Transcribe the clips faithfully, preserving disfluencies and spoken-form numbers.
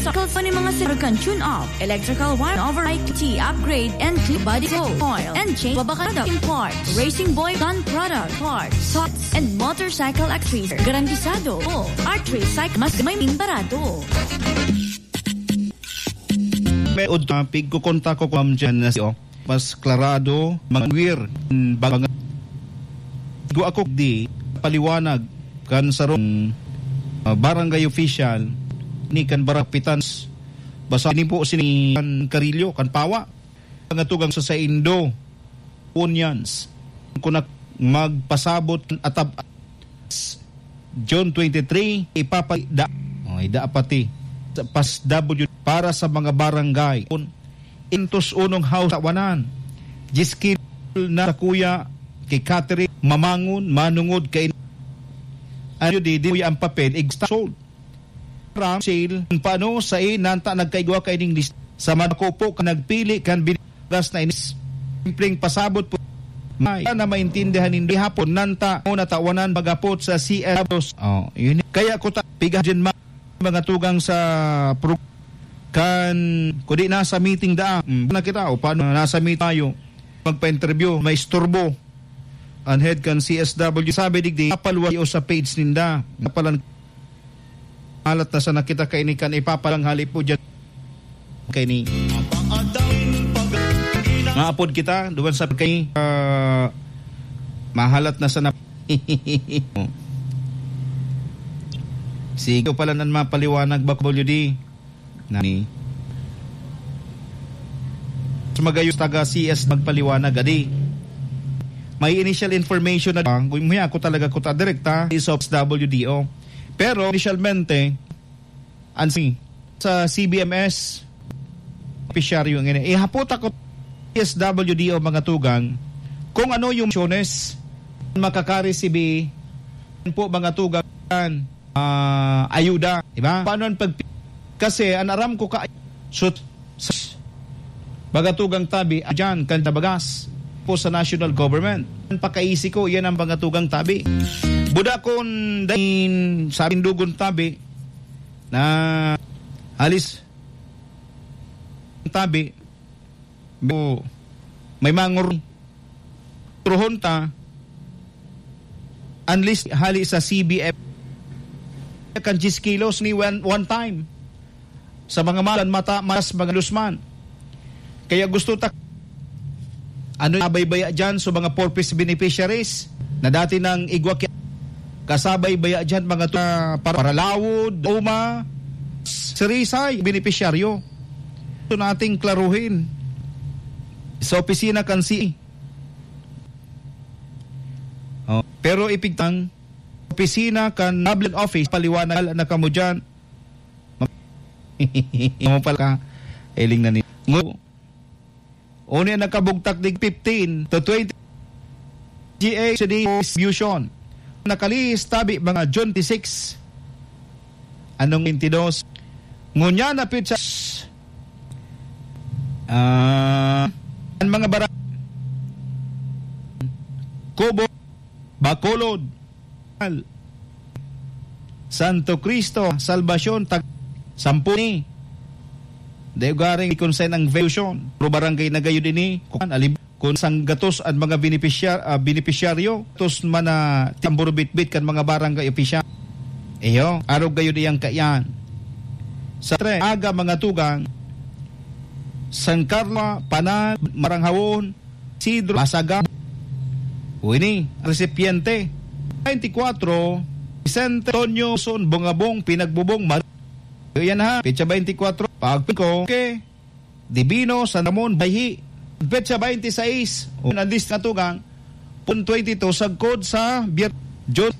Circle sa mga sir kan tune up, electrical wire, override, T upgrade, and clean body, oil, and change, babakada, import, Racing Boy, gun product, parts, socks, and motorcycle accessories. Garantisado. O, Art Recycle, mas may barato. May ud topic ko konta ko, Ma'am Jen, na si, oh, mas klarado, mga wir, bang-, go ako di paliwanag kan sarong, ah, barangay official ni kan barangay kapitan. Basta ni po sini kan Karilyo, kan Pawa. Mga tugang sa saindo, unions, kung nak-, magpasabot atab June twenty-three, ipapagda, oh, ida pati sa P A S W para sa mga barangay. Intos unong house tawanan. Diyes kilo na sa kuya kay Catherine Mamangon, manungod kay ano di, di ang papel, igsta sold. Ram, sale, paano sa i-, nanta nagkaigwa ka ining list? Sa madako po ka nagpili kan bin-, gas na inis. Simpleng pasabot po. May na maintindihan nindo hapon nanta o natawanan pag-apot sa C L. Oh, yun. Kaya ko ta-, piga dyan ma-, mga tugang sa pro-, kan, kung di nasa meeting da, mm, na kita, o paano nasa meet tayo, magpa-interview, may isturbo. An head kan C S W, sabi digdi, apalwa o sa page ninda. Napalan-, halat na sana kita kaini kan ipapalanghali po dyan. Kaini. Nga apod kita, duman sa kay, ah, mahalat na sana. Sige pala nan mapaliwanag, Bak W D. Nani? Mas magayon taga C S magpaliwanag, adi. May initial information na, kung may ako talaga kuta direkta, is of W D O. Pero initialmente, an si-, sa C B M S, benepisyaryo ngini. Ihapot ako S W D O mga tugang kung ano yung misyones makakaresibi po mga tugang, ah, ayuda, di ba? Paano ang pag-, kasi an aram ko ka, sut-, s-, mga tugang tabi, dyan, kan tabagas po sa national government. Ang pakaisi ko, yan ang mga tugang tabi. Buda kun dain, sabing dugon tabi, na halis tabi, bu-, may mangor-, truhon ta, unless hali sa C B F, kan diyes kilos ni one, one time. Sa mga malan, mata, mas mga lusman. Kaya gusto ta, ano, sabay baya dyan sa mga four Ps beneficiaries na dati nang igwa ki-, kasabay baya dyan mga tu-, para, paralawod, uma, sirisay, benepisyaryo. Ito nating klaruhin sa opisina kan C E. Oh, pero ipigtang opisina kan Public Office, paliwanag na kamo dyan. Mo pala ka, eling na ni. Ngo-, Unya nakabugtak dig fifteen to twenty G A C D distribution. Nakalihis tabi mga June twenty-six. Anong twenty-dos? Ngunyan na petsa, ah, ang mga bara-, Kubo, Bacolod, Santo Cristo, Salvacion, tag-, sampu ni. Dai ugaring kung saan ang venue. Pero barangay na gayud ini, kung alib-, kung sanggatos ang mga benepisyar-, ah, benepisyaryo, tos man na tamburo bitbit kan mga barangay opisyal. Iyo, arog gayud iyang kaiyan. Sa tre, aga mga tugang, San Carlos, Panan, Maranghawon, Isidro, Masaga. O ini, ang resipiente. Twenty-four, Vicente Antonio Son Bungabong, Pinagbubong, Mar-, yan ha, petsa twenty-four, Pagpiko, ke, Divino, San Ramon, Bayhi. Petsa twenty-six, o, ang list na tugang, pun twenty-two, sagkod sa Bier-, June.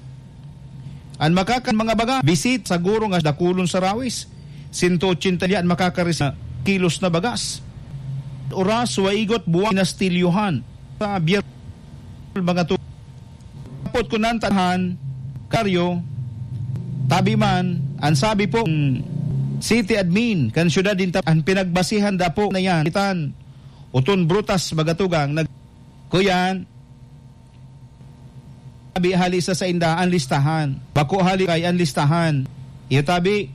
An makakan mga baga, bisit, saguro nga dakulon sa rawis. Sento ochenta an makakaris na kilos na bagas. Oras, waigot, buwan, nastilyohan. Sa Bier-, mga tu-, apot ko nan tahan, karyo, tabi man, ang sabi po, mm, city admin, kan syudad din ta-, ang pinagbasihan dapo na yan, itan, uton brutas, mga tugang, nag-, kuyan, Tabi hali sa sainda an listahan. Bako hali kay an listahan. Iyo tabi,